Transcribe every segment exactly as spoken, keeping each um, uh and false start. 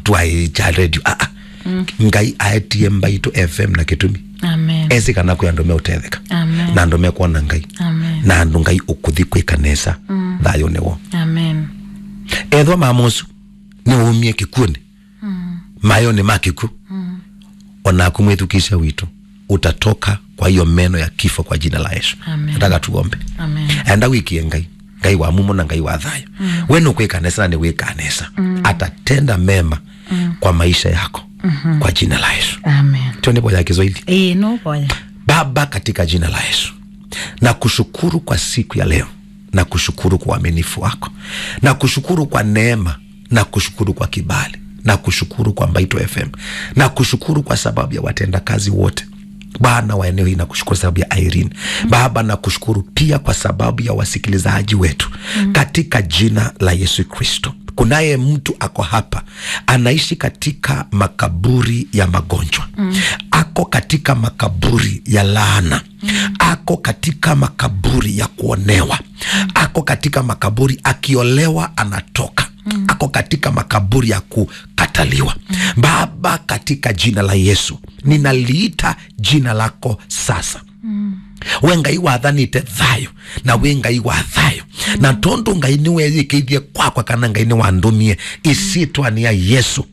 twaĩ kya radio. Aa. Ngai aetie Mbaitũ F M na kĩtumi. Amen. Esi kana kwĩ andũ meũtetheka. Amen. Na andũ mekwona Ngai. Amen. Na andũ Ngai ũkũthi kwĩka nesa. Thayũnĩ woo. Amen. Ethwa mama ũsu nĩwaumie kĩkw'ũnĩ, mayonĩ ma kĩkw'ũ, onaku mwĩthukĩĩsya witũ utatoka kwa hiyo meno ya kifo kwa jina la Yesu. Amen. Nataka tuombe. Amen. Enda wĩkĩe Ngai, Ngai wa mumo na Ngai wa thayũ. We nũkwĩka nesa na nĩwĩkaa nesa. Atatenda mema kwa maisha yako kwa jina la Yesu. Amen. Twende kwa ya Kiswahili. Ĩĩ, nũvoya. Baba, katika jina la Yesu, nakushukuru kwa siku ya leo, nakushukuru kwa uaminifu wako, nakushukuru kwa neema, nakushukuru kwa kibali, nakushukuru kwa Mbaitũ F M, nakushukuru kwa sababu ya watendakazi wote, Bwana wa eneo hii, nakushukuru sababu ya Irene. Baba, nakushukuru pia kwa sababu ya wasikilizaji wetu, katika jina la Yesu Kristo. Kunaye mtu ako hapa, anaishi katika makaburi ya magonjwa. Ako katika makaburi ya laana. Ako katika makaburi ya kuonewa. Ako katika makaburi, akiolewa anatoka. Ako katika makaburi ya kukataliwa. Baba, katika jina la Yesu, ninaliita jina lako sasa. We Ngai wathanĩte thayũ, na wĩ Ngai wa thayũ. Na tondũ Ngai nĩweyĩkĩithye kwakwa, kana Ngai nĩwandũmie, ĩsyĩtwanĩ ya Yesu,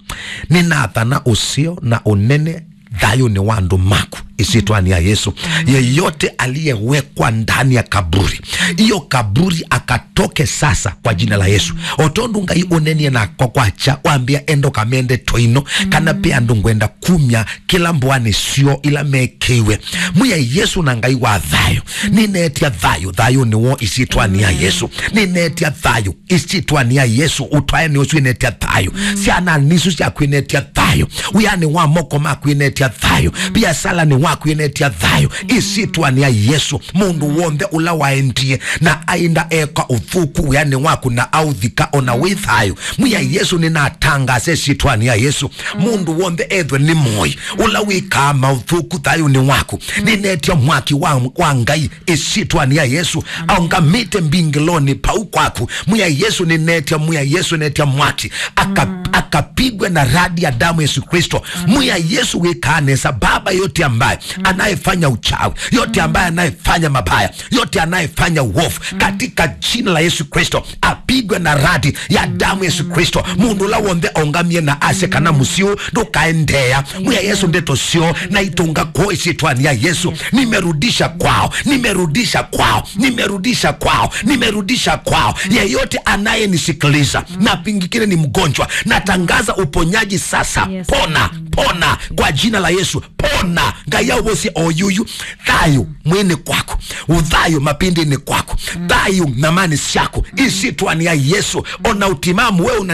nĩnathana ũseo na ũnene thayũnĩ wa andũ maku, ĩsyĩtwanĩ ya Yesu. Yeyote aliyewekwa ndani ya kaburi, hiyo kaburi akatoke sasa kwa jina la Yesu. O tondũ Ngai ũnenie nakwa kwakya, wambĩa, "Enda ũkamende twaino," kana pe andũ ngwenda kumya kĩla mbũanĩ syoo ila mekĩiwe. Mwĩai Yesu na Ngai wa thayũ, nĩneetya thayũ, thayũnĩ woo ĩsyĩtwanĩ ya Yesu. Nĩneetya thayũ ĩsyĩtwanĩ ya Yesu. Ũtwae nĩ ũsu ĩneetya thayũ. Syana nisu syaku ĩneetya thayũ. Wĩanĩ wa moko maku ĩneetya thayũ. Biasalanĩ waku ĩneetya thayũ. Ĩsyĩtwanĩ ya Yesu, mũndũ w'onthe ũla waendie na ainda eka ũthũku wĩanĩ waku na authika ona wĩ thayũ, Mwĩai Yesu, nĩnatangaasa ĩsyĩtwanĩ ya Yesu, mũndũ w'onthe ethwe nĩ mũoi, ũla wĩkaa maũthũku thayũnĩ waku, nĩneetya mwaki wa, wa Ngai ĩsyĩtwanĩ ya Yesu, aũngamĩte mbingĩlonĩ pau kwaku. Mwĩai Yesu, nĩneetya, Mwĩai Yesu, neetya mwaki, aka-, akapigwe na radi ya damu Yesu Kristo. Mwĩai Yesu wĩkaa nesa, Baba, yote ambaye anayefanya uchawi, yote ambaye anayefanya mabaya, yote anayefanya uovu, katika jina la Yesu Kristo, apigwe na radi ya damu Yesu Kristo. Mũndũ ũla w'onthe aũngamie na asye kana mũsyĩ ũũ ndũkaendeea, Mwĩai Yesu, ndeto syoo na itũnga kwoo ĩsyĩtwanĩ ya Yesu. Nimerudisha kwao, nimerudisha kwao, nimerudisha kwao, nimerudisha kwao. Yeyote anayenisikiliza na pingikine ni mgonjwa, natangaza uponyaji sasa. Pona, pona kwa jina la Yesu. Pona. Ngai aũvosye o yuyu. Thayũ mwĩnĩ kwaku, ũthayũ mapĩndĩnĩ kwaku, thayũ nyamanĩ syaku, ĩsyĩtwanĩ ya Yesu. Ona ũtimamu we una